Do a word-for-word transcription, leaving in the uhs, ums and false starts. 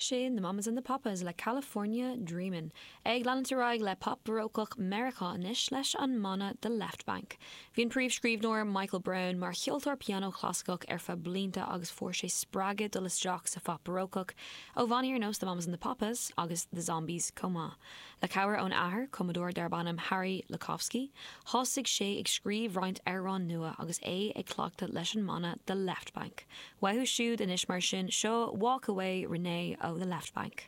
Sin the Mamas and the Papas le California Dreamin'. Ag leanúint ar aghaidh le pop barócach Meiriceá anois leis an mbanna The Left Banke. Bhí an príomhscríbhneoir Michael Brown mar cheoltóir pianó clasaiceach ar feadh blianta agus fuair sé spreagadh dul isteach sa phop barócach ó bhannaí ar nós the Mamas and the Papas agus the Zombies chomh maith. Le cabhair ón athair cumadóir darb ainm Harry Lookofsky, thosaigh sé ag scríobh roinnt amhrán nua agus é ag cleachtadh leis an mbanna The Left Banke. Uathu siúd anois mar sin seo Walk Away Renee ó The Left Banke.